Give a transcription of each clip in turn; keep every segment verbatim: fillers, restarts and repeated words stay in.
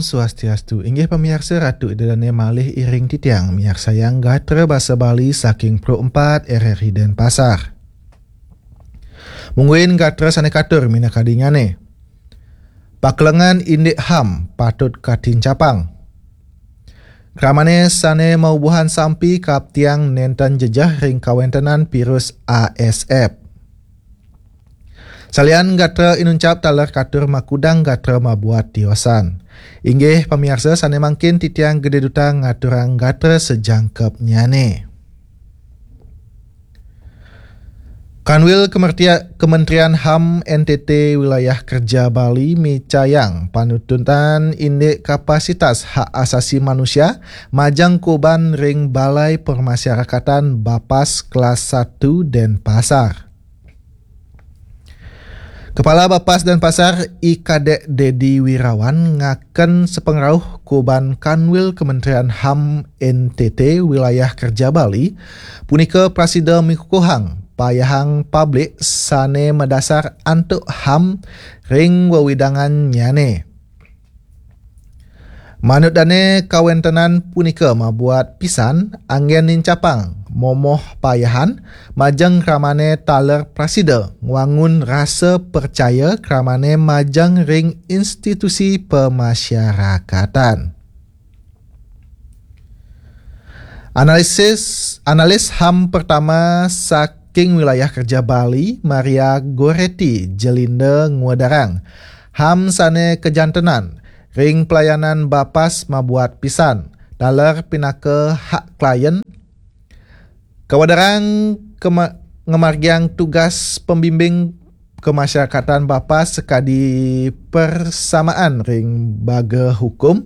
Swastiastu, inggih pamiarsa, Ratu Ida Dane malih iring titiang miarsayang gatra basa Bali saking Pro empat R R I Denpasar. Mungguing gatra sane katur minakadingane. Pakelengan indik ham patut katincapang. Kramane sane maubuhan sampi kaaptiang nenten jejeh ring kawentenan virus A S F. Salian gatra inuncap taler katur makudang gatra mabuat tiosan. Inggih pamiarsa, sane mangkin titiang Gede Duta ngaturang gatra sajangkepnyane. Kanwil Kemertia-, Kementerian ham N T T Wilayah Kerja Bali micayang panututan indik kapasitas hak asasi manusia majeng kuban ring Balai Permasyarakatan Bapas kelas satu Denpasar. Kepala Bapas Denpasar, I Kadek Dedi Wirawan, ngaken sapangrauh kuban Kanwil Kementerian ham N T T Wilayah Kerja Bali, punika prasida mikukuhang payahang publik sane madasar antuk ham ring wewidangannyane. Manut dane, kawentenan punika mabuat pisan anggen nincapang momoh payahan majeng kramane taler prasida ngwangun rasa percaya kramane majeng ring institusi pemasyarakatan. Analisis, analis ham pertama saking Wilayah Kerja Bali, Maria Goretti Jelinda, ngwedarang, ham sane kajantenan ring pelayanan bapas mabuat pisan, taler pinaka hak klien. Kawedarang kema-, ngamargiang tugas pembimbing kemasyarakatan bapas sakadi persamaan ring baga hukum,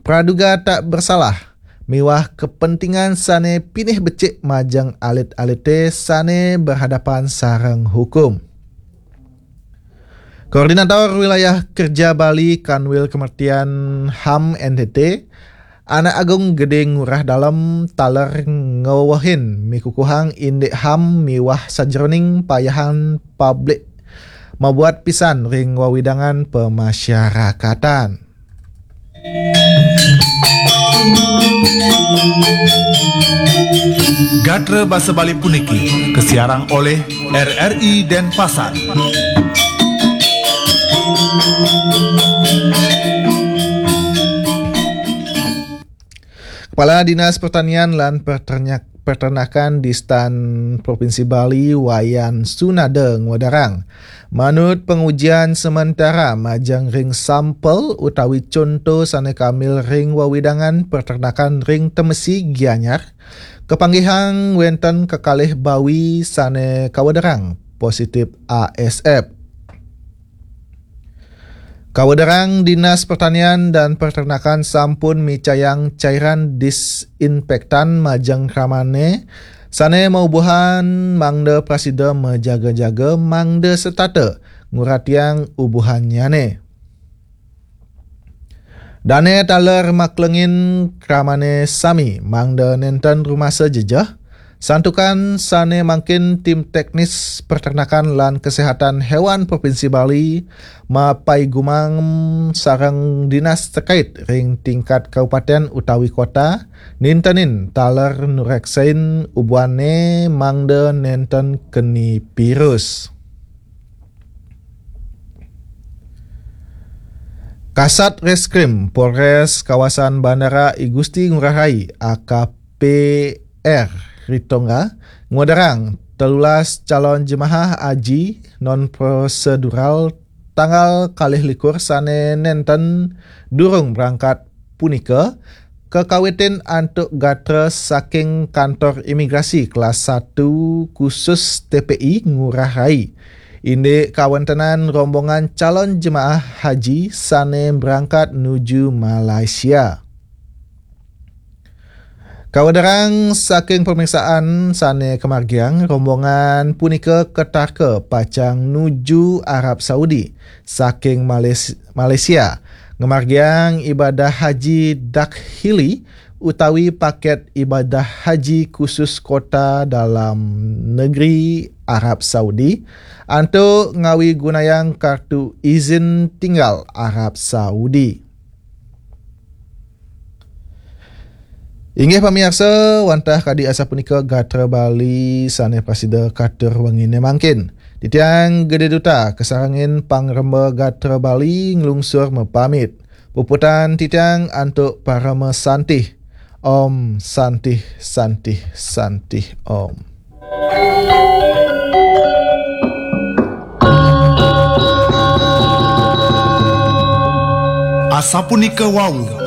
praduga tak bersalah, miwah kepentingan sane pinih becik majeng alit-alite sane berhadapan sareng hukum. Koordinator Wilayah Kerja Bali Kanwil Kementerian ham N T T, Anak Agung Gede Ngurah Dalem, taler ngewehin mikukuhang indik ham miwah sajeroning payahan publik mabuat pisan ring wewidangan pemasyarakatan. Gatra basa Bali puniki kasiarang olih R R I Denpasar. Kepala Dinas Pertanian lan Perternak-, Peternakan Distan Provinsi Bali, Wayan Sunada, ngwedarang, manut pangujian sementara majeng ring sampel utawi conto sane kamil ring wewidangan peternakan ring Temesi, Gianyar, kapanggihang wenten kekalih bawi sane kawedarang positif A S F. Kawedarang, Dinas Pertanian dan Peternakan sampun micayang cairan disinfektan majeng kramane sane maubuhan mangda prasida majaga-jaga mangda setata nguratiang ubuhannyane. Dane taler maklengin kramane sami mangda nenten rumasa jejeh, santukan sane mangkin tim teknis peternakan lan kesehatan hewan Provinsi Bali mapaigumam sareng dinas terkait ring tingkat kabupaten utawi kota nintenin taler nureksain ubuhane mangda nenten keni virus. Kasat Reskrim Polres Kawasan Bandara I Gusti Ngurah Rai, A K P R Ritonga, ngwedarang telulas calon jemaah haji non prosedural tanggal kalih likur sane nenten durung berangkat punika kakawitin antuk gatra saking Kantor Imigrasi Kelas satu Khusus T P I Ngurah Rai, indik kawentenan rombongan calon jemaah haji sane berangkat nuju Malaysia. Kawedarang saking pemeriksaan sane kamargiang, rombongan punika katarka pacang nuju Arab Saudi saking Malaysi-, Malaysia, ngamargiang ibadah haji dakhili utawi paket ibadah haji khusus kota dalam negeri Arab Saudi, antuk ngawigunayang kartu izin tinggal Arab Saudi. Inggih pamiarsa, wantah kadi asapunika gatra Bali sane prasida katur wengine mangkin. Titiang Gede Duta kasarengin pangremba gatra Bali nglungsur mapamit. Puputan titiang antuk parama santih. Om Santih Santih Santih Om. Asapunika wau